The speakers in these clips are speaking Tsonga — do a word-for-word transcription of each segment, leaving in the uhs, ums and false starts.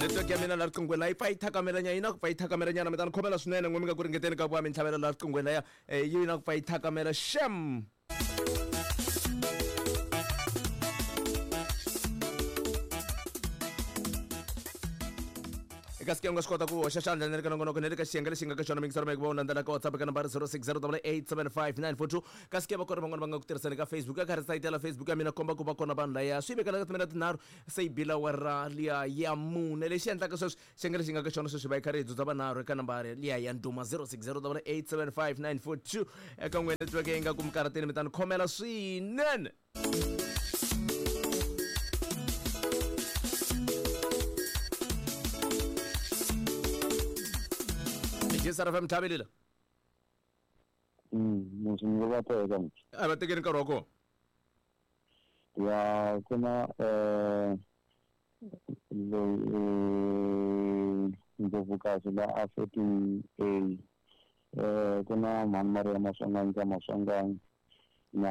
Network ya mina la riqinghweni la yi pfa yi thakamela yi na ku pfa yi thakamela nyana mi ta ni khomela swinene n'we mi nga ku ringeteni ka ku va mi ntlhavela la riqinghweni laya yi na ku pfa yi thakamela shem. Eka sike u nga swi kota ku hoxa xandla ni le ka nongonoko ni le ka xiyenge lexi nga ka xona mingisero meke va u landzela ka WhatsApp ka nambara zero six zero eight seven five nine four two ka sike va kona van'wana va nga ku tirhiseni ka Facebook ka karhi sayitela Facebook ya mina komba ku va kona vanhu laya swi vekela ka timina tinharhu se yi bila wa ra liya ya mune lexi endlaka sweswi xiyenge lexi nga ka xona sweswi va yi karhi hi dzudza vanharhu eka nambara liya ya nduma zero six zero eight seven five nine four two eka n'we network yi nga ku mikarhatini mi ta ni khomela swinene. J S R F M tlhavelela. Mm, musi va teka. A va tekeni nkarhi wa kona. Ya ku na eh loyi Ndlovukazi la a fourteen A eh ku na Mhani Maria Maswanganyi ka Maswanganyi na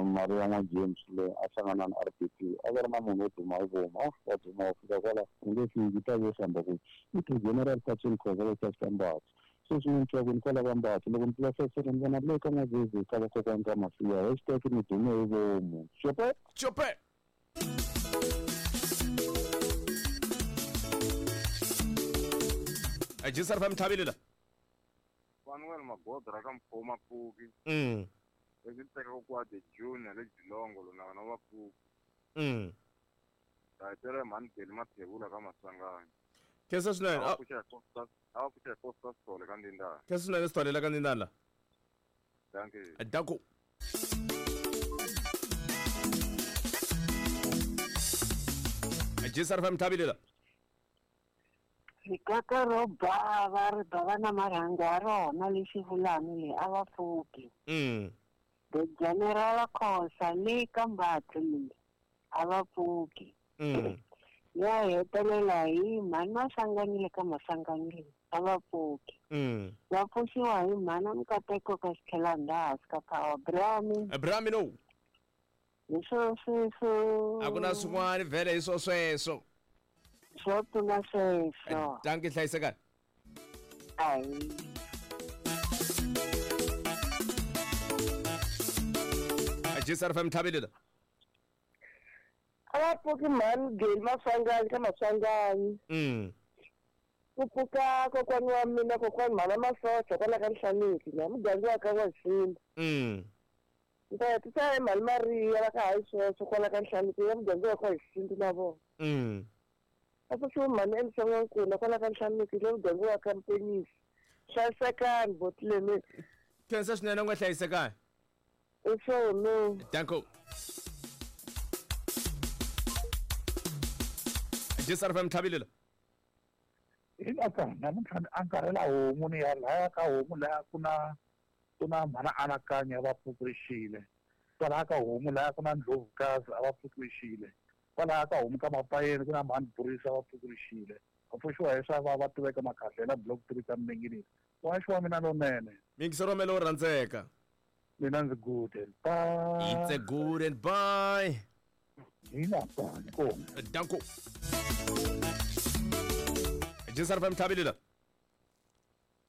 Maria na James le a hlangana na R P P a va ri na munhu wo duma hi voma wa duma wa fika kwala u nge fiki ta vo hlamba ku i ti general Patchen Khoza va ta Mbatha sweswi ni twa ku ni kwala ka Mbatha loko ni pfula fenstere ni vona le ka N'wazezi ka vakokwani ka Masiya hashtag ni dume hi vomu xope xope. J S R F M tlhavelela. Manuel Magodra ka Mkhoma Pfuki. Mm. Lexi tekaka kwa the junior le Jilongo lona vana va Pfuki. Mm. Ta hetela mhani Beli Mathebula ka Maswanganyi. Khensa swinene. A va pfuxa Costa, a va pfuxa Costa Sithole ka Ndindana. Khensa swinene Sithole ka Ndindana. Dankie. Danko. J S R F M tlhavelela. Rikaka ro bava ri bava na marhangu ya rona lexi vulani leyi a va pfuki. Mm. The General Khosa le ka Mbatha leyi a va pfuki. Mm. Ya hetelela hi mhani Maswanganyi le ka Maswanganyi leyi a va pfuki. Mm. Va pfuxiwa hi mhani Mukateko ka Xitlhelanda hansi ka Power Brami. Brami no. Hi swo sweswo. A ku na swin'wana vhele hi swo sweswo. Swo tlula sweswo. Dankie hlayisekani. Ayi. J S R F M tlhavelela. A va pfuki mhani Geli Maswanganyi ka Maswanganyi. Mm. Ku pfuka kokwani wa mina kokwani mhana Masocha kwala ka Nhlaniki na muganga wa ka N'waximba. Mm. Ni ta hetisa hi mhani Maria va ka hayi sweswo kwala ka Nhlaniki ya muganga wa ka Xintu na vona. Mm. A pfuxiwa mhani Elisa N'wankuna kwala ka Nhlaniki le muganga wa ka Mpenisi. Hlayisekani botleni. Khensa swinene u nga hlayisekani. I swona. Danko. J S R F M tlhavelela. Hi aka namuntlha ni angarhela homu ni ya laya ka homu laya ku na ku na mhana Anakanya va pfukurixile. Kwalaya ka homu laya ku na Ndlovukazi a va pfukurixile. Kwalaya ka homu ka Mapayeni ku na mhani Burisa va pfukurixile. Va pfuxiwa hi swa va va tiveka Makhahlela block three ka Minenginini. Waxi wa mina lonene. Mingisero mele wo rhandzeka. Mina ndzi good and bye. It's a good and bye. Hina danko. Danko. J S R F M tlhavelela.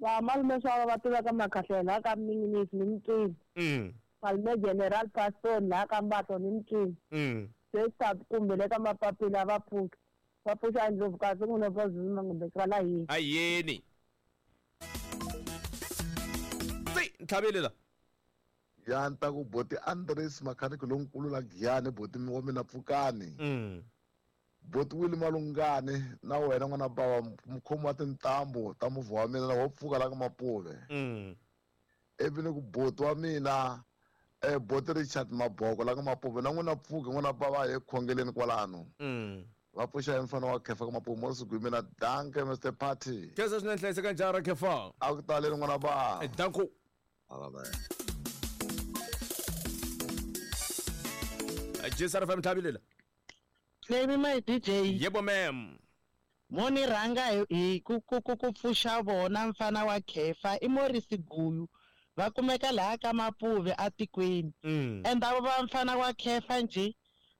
Va malume swa va tiveka Makhahlela ka Minginisi ni Mtwini. Mm. Malume General Pastor la ka Mbatho ni Mtwini. Mm. Se kumbe le ka Mapapila va pfuki. Va pfuxa Ndlovukazi n'wina va zuma ngombe kwala yini. Ayeni. Tsi tlhavelela. Ya nta ku boti Andres mechanic lonkulu la Giyani boti wa mina pfukani. Mm. Boti Willy Malungane na wena n'wana bava mukhomi wa tintambu ta movha wa mina wo pfuka la ka Mapuve. Mm. Ivi ni ku boti wa mina eh boti Richard Maboko la ka Mapuve na n'wina pfuka n'wana bava hi khongeleni kwalano. Mm. Va pfuxa hi mfana wa Khefa ka Mapuve mo siku mina danke Mister Party. Khensa swinene hlayiseka njhani Khefa? A ku taleni n'wana bava. Danko. Amen. J S R F M tlhavelela. Baby my D J. Yebo ma'am. Moni rhanga hi ku ku ku ku pfuxa vona mfana wa Khefa i Morris Guyu va kumeka laha ka Mapuve atikweni. Mm. And avo va mfana wa Khefa nje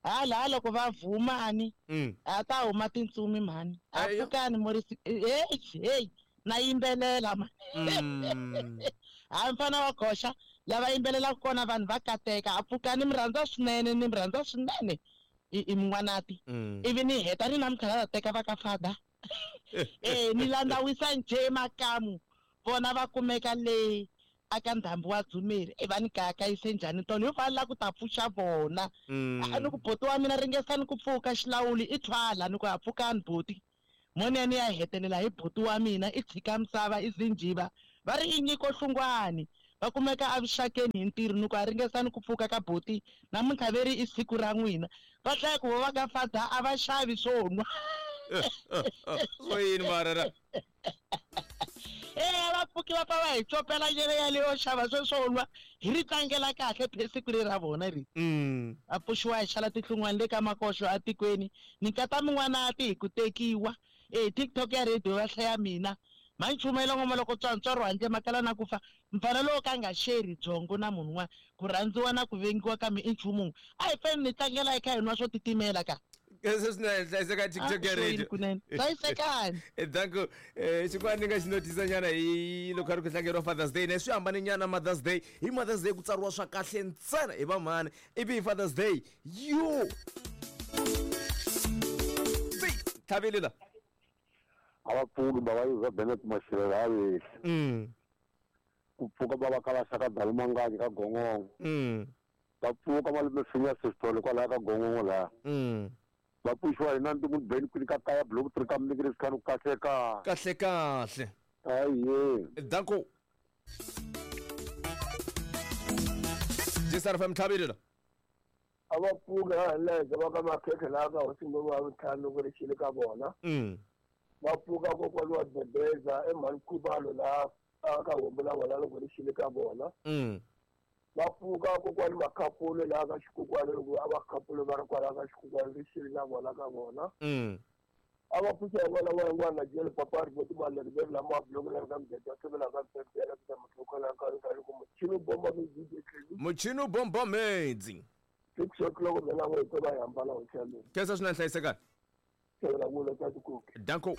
Hala loko va vhumani Mm. a ta huma tintsumi mhani. A Ayo. pfukani Morris hey hey na yimbelela mhani. Mm. Ha mfana wa goxa lava yimbelelaka kona vanhu va kateka a pfukani mi rhandza swinene ni mi rhandza swinene i i min'wanati Mm. ivi ni heta ni namuntlha la ta teka va ka fada eh ni landzawisa njhe makamu vona va kumeka le aka ndhambi wa dzumeri e va ni kayakayise njhani tolo yo va la ku ta pfuxa vona Mm. a ni ku boti wa mina ringesani ku pfuka xilawuli i thwala ni ku ha pfukani boti moni ya ni ya hetelela hi boti wa mina i tshika misava i zinjiva va ri i nyiko hlungwani va kumeka avuxakeni hi ntirho ni ku a ringesani ku pfuka ka boti namuntlha ve ri i siku ra n'wina va hlaya ku vo va ka fada a va xavi swo nwa Swo yini mara ra? e a va pfuki va pfa va hi copela nyele yaleyo xava swe swo nwa hi ri tlangela kahle phe siku leri ra vona ri Mm. a pfuxiwa hi xala tinhlungwani le ka makoxo atikweni ni nkata min'wanati hi ku tekiwa e TikTok ya radio va hlaya mina manchumayela ngoma loko tswantswaro handle makala na ku fa mfana lowo ka nga xeri byongo na munhu un'wana ku rhandziwa na ku vengiwa ka mi i nchumu wun'we a hi fani ni tlangela hi kha hi nwa swo titimela ka Khensa swinene hlayiseka TikTok ya Ah, swo yini radio. kunene hlayisekani Eh, Danko eh xin'wana ni nga xi notisa nyana hi loko a ri ku tlangeriwa Father's Day ne swi hambane nyana Mother's Day hi Mother's Day ku tsariwa swa kahle ntsena hi vamhani ivi hi Father's Day yo tlhavile la a va pfuki bava yuza Bennett Mashirela a vehli mm ku pfuka va va ka va xaka dalumangaji ka gongongo mm va pfuka malume finya sesitolo kwalaya ka gongongo laya mm va pfuxiwa hi na ntimu beni kwini ka kaya block three ka mnikiri sikhani ku kahle ka kahle kahle aye danko J S R F M tlhavile la A va pfuki ha leke va ka makhekhe laha ka hosi ngoma wa vutlhanu loko ri xile ka vona. mm Va pfuka kokwani wa Bebeza emhani Khubalo laha a ka homu la vona loko ri xile ka vona. mm Va pfuka kokwani Makhapulu laha ka xikokwani loko a va Khapulu va ri kwalaha ka xikokwani ri xile na vona ka vona. mm A va pfuxa hi vona wa n'wana jele papa ri voti maleri ve lama bloko la ka mdede wa ka mdede ka mtloko la ka ka ku muchini bomba mi D J Clean muchini bombomedzi six o'clock mina n'we to va hambana hoteleni khensa swinene hlayisekani xavela vula ta tikoki danko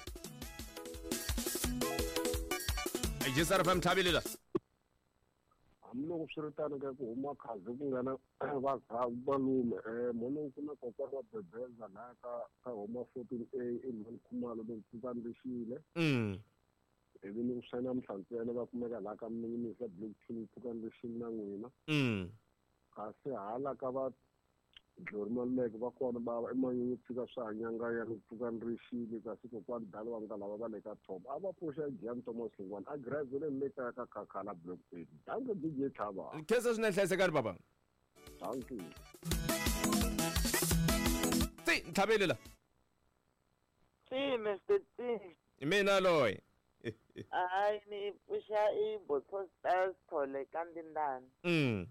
J S R F M tlhavile la hambiloko swi ri tano ka ku huma khazi ku nga na malume um mono ku na kokwana wa Bebeza laha ka ka homa fourteen A emhani Khumalo loko pfukani rixile mm ivi ni ku swa namuntlha ntsena va kumeka laha ka minisa block two pfukani rixile na n'wina mm kasi hala ka va Dlori Maluleke va kona va emanyunyu pfuka swa hanyanga ya pfukani rixile kasi kokwani dala wa nga lava va le ka top a va pfuxa Gian Thomas Hlongwane a graduate le kaya ka Khakhala block eight danke D J Tlhava khensa swinene hlayisekani papa danke ti ntlhavele la Tsi Mister Tsi. hi mina loyi Hayi ni pfuxa i Botho Stars Thole ka Ndindani. mm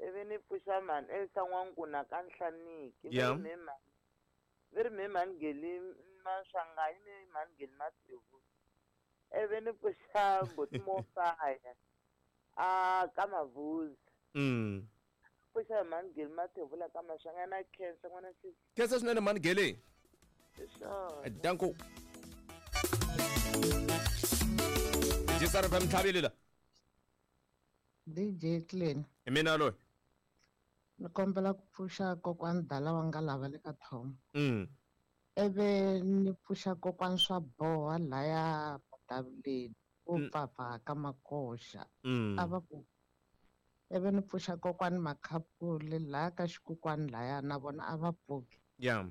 Ivi ni pfuxa mhani Elsa N'wankuna ka Nhlaniki. Va Yeah. ri me mhani. Va ri me mhani Geli Maswanganyi ni mhani Geli Mathebula. Ivi ni pfuxa Mbuti Mofaya a ka Mavuzi. mm Pfuxa mhani Geli Mathebula ka Maswanganyi na khensa n'wana sisi. khensa swinene mhani Geli Hi swona. danko J S R F M tlhavele la D J Clean hi mina loyi ni kombela ku pfuxa kokwani dala wa nga lava le ka Thoma mm ivi ni pfuxa kokwani swa boha laya Matavuleni wo Mm. pfapfa ka makoxa mm a va ku ivi ni pfuxa kokwani Makhapule laya ka xikokwani laya na vona a va pfuki ya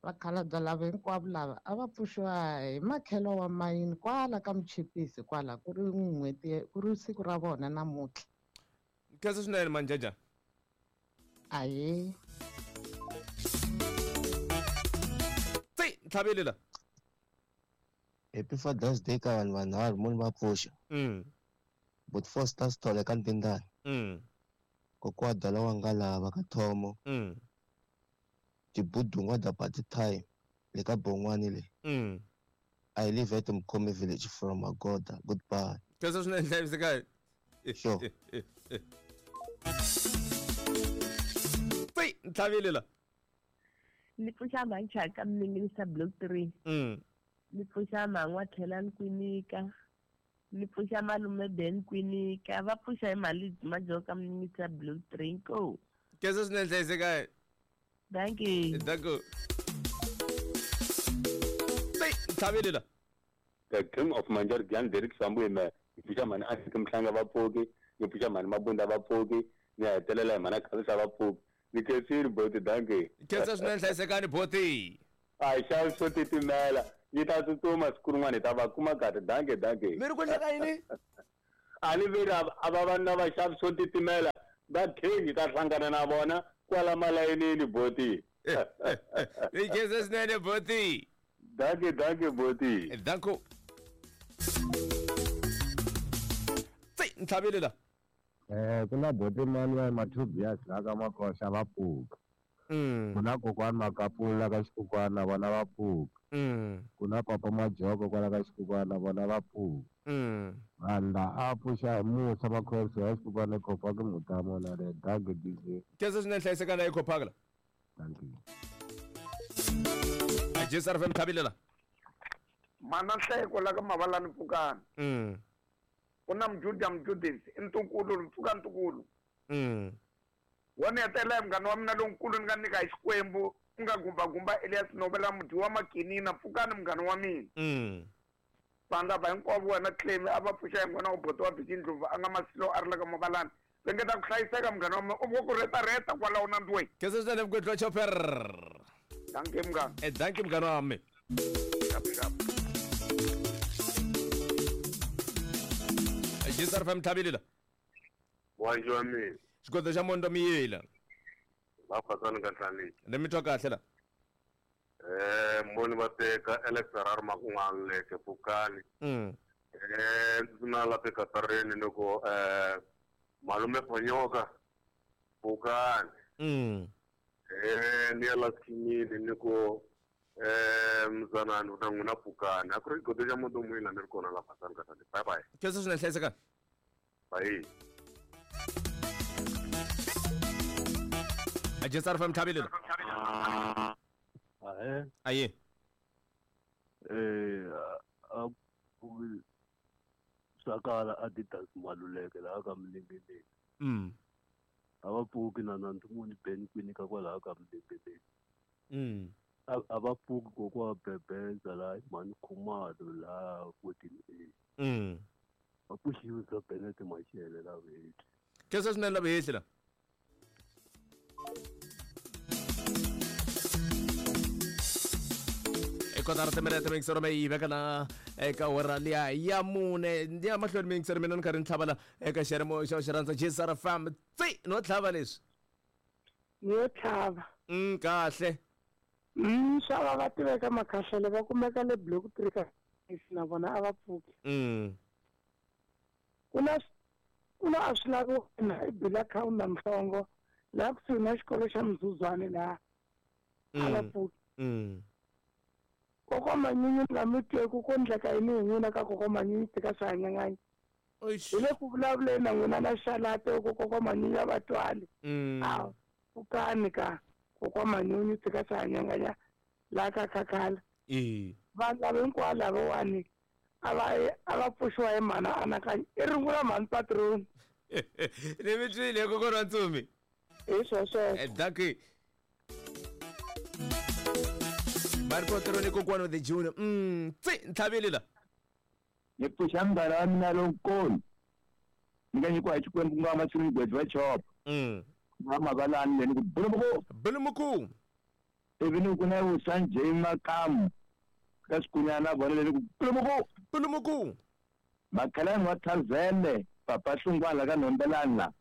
vakhalabya lava hinkwavo lava a va pfuxiwa hi makhelo wa mayini kwala ka muchipisi kwala ku ri n'hweti ku ri siku ra vona namuntlha khensa swinene manjaja ahee ti ntlhavele la Happy Father's Day ka vanhu vanharhu mo ni va pfuxa mm but Foster Sithole ka Ndindani mm kokwa dala wa nga lava ka Thomo mm tibudungwa da party time le ka Bon'wani le mm I live at Mkhome village from Magoda goodbye khensa swinene hlayisekani Sure. ti ntlhavele la Ni pfuxa mhani Mninginisa block three. Mm. Ni pfuxa mhan'wa Tlhelani Kwinika. Ni pfuxa malume Ben Kwinika. Va pfuxa hi mali Majoka Mninginisa block three inkomu. Khensa swinene hlayisekani. Thank you. Thank you. Tlhaveli la. The King of Manjar Gyan Derek Sambu me pfuxa mhani a fika mhlanga va pfuki, ni pfuxa mhani Mabunda va pfuki, ni hetelela hi mhani Khalisa va pfuki. Ni khensile boti, dankie. Khensa swinene hlayisekani boti. A hi xavi swo titimela, yi ta tsutsuma siku rin'wana hi ta va kuma kahle. Dankie, dankie. Mi ri ku endleka yini? A ni veri a va vanhu lava xavi swo titimela va king hi ta hlangana na vona kwala malayinini boti. Ni khensa swinene boti. Dankie, dankie boti. Danko. Tsi, ntlhaveli la. Eh ku na boti mani Mathubias la ka Makoxa va pfuka. Mm. Ku na kokwani Makapula ka Xikukwana vona va pfuka. Mm. Ku na papa Majoko kwala ka Xikukwana vona va pfuka. Mm. Vanhu la a pfuxa hi musa Makhosi ya Xikukwana eKhophaka Mutamo na le Dankie D J. Khensa swinene hlayisekani la eKhophaka la. Dankie. J S R F M tlhaveli la. Mana nhleko la ka Mavalani pfukani. Mm. Ku na Mjuda Mjudisi i ntukulu pfuka ntukulu. Mm. Wona hetelela munghana wa mina lonkulu ni nga nyika hi Xikwembu ku nga gumbagumba Elias Nobela mudyi wa Makinina pfukani munghana wa mina. Mm. Vanhu lava hinkwavo wena Clemi a va pfuxa hi n'wana wa boti wa Biki Ndlovu a nga Masilo a ri la ka Mavalani. Ringeta ku hlayiseka munghana wa mina u vo ku retareta kwalaho na ndweni. Khensa swinene Mgwedlwa Chopper. Dankie munghana. Eh dankie munghana wa mina. Xap xap. J S R F M tlhaveli la. Wanji wa mina. Xigodo xa Mondo Miyela. Va Khwatsani ka Nhlaniki. Ni mi twa kahle la. Eh moni va teka Alex Harare Makun'wana leke pfukani. Mm. Eh ndzi na la Katareni loko eh malume Fonyoka pfukani. Mm. Eh ni ya la Tshimile ni ku eh mzanani u ta n'wina pfukani. A ku ri xigodo xa Mondo Miyela ni ri kona la Khwatsani ka Nhlaniki. Bye bye. Khensa swinene hlayisekani. Bye. J S R F M tlhaveli la. Ahe. Aye. Eh a ku sakala Adidas Maluleke la ka Mninginini. Mm. A va pfuki na na Ntumuni Ben Kwinika kwalaho ka Mninginini. Mm. A va pfuki kokwa Bebeza la Mani Khumalo la fourteen A. Mm. Va pfuxiwisa Bennett Mashele la vheti. Khensa swinene la vheti la. Kotara timinete mingisero me yi veka na eka awara liya ya mune ni ya mahlweni mingisero mina ni karhi ni tlhava la eka xiyimo xa xi rhandza J S R F M tsi no tlhava leswi yo tlhava mm kahle mm xava va tiveka Makhahlele va kumeka le block three ka na vona a va pfuki mm ku na ku na a swi lavi wena i bila khawunda Mhlongo laha kusuhi na xikolo xa Mzuzwane laha a va pfuki mm Kokwa Manyunyu nga mi tweku ku endleka yini hi n'wina ka kokwa Manyunyu tika swi hanyanganya hi le ku vulavuleni na n'wina na xalate ku kokwa Manyunyu a va twali a pfukani ka kokwa Manyunyu tika swi hanyanganya laha ka Khakhala vanhu lava hinkwavo lavawani a va a va pfuxiwa hi mhana anakanya i rungula mhani patroni ni mi twile kokwana wa Ntsumi hi swo sweswo dankie. Marco Troni kokwana the Junior. Mm, tsi ntlhaveli la. Ni pfuxa munghana wa mina lonkulu. Ni nga nyikiwa hi Xikwembu ku nga Matsini Mgwedzi wa Chopa. Mm. Va Mavalani le ni ku Bulumuku. Bulumuku. Ivi ni ku na Vusanjay Makamu ka Xikunyana vona le ni ku Bulumuku. Bulumuku. Makhalani wa Tharzele Papa Hlungwana ka Nhombelani la.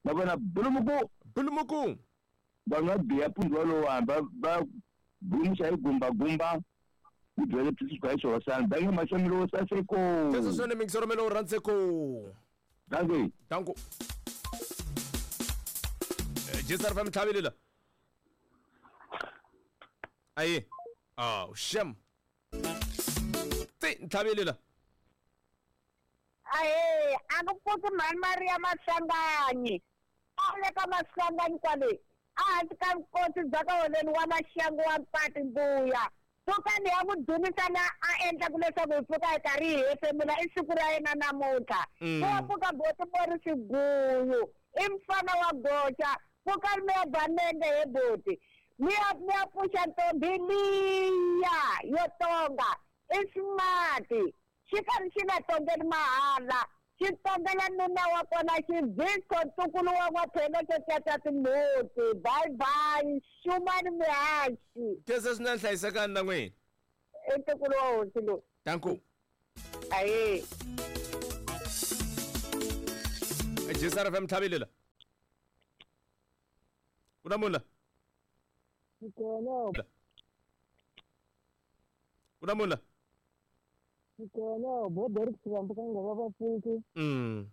Na vona Bulumuku. Bulumuku. Vanhu va biya pundzu walowa va va gumxa hi gumbagumba ku byele swi hi xihosana danke maxamilo wo saseko Khensa swinene mingisero me lowu rhandzeko. Dankie. Danko. J S R F M tlhaveli la. Aye. Oh, shem. Tsi ntlhaveli la. Ahe, a ku pfuki mhani Maria Maswanganyi. A le ka Maswanganyi kwale. A hansi ka vukosi bya ka holeni wa maxangu wa mpati mbuya. Pfukani ya n'wi dzunisa na a endlaku leswaku hi pfuka hi karhi hi hefemula i siku ra yena namuntlha. Pfuka pfuka boti Mori Xiguyu i mfana wa goxa. Pfukani mi ya ba nenge he boti. Mi ya mi ya pfuxa ntombi liya yo tonga i smart. Xi karhi xi nga tongeli mahala. Xi tongela nuna wa kona xivhisko ntukulu wa n'waphelo xo caca timbuti. Bye bye xumani mihaxi. Khensa swinene hlayisekani na n'wina. I ntukulu wa hosi lowu. Danko. Ahee. G S R F M tlhavile la. Ku na munhu la? Kona. Ku na munhu la? Kona bo Derek Sivambu ka nga va va pfuki. Mm.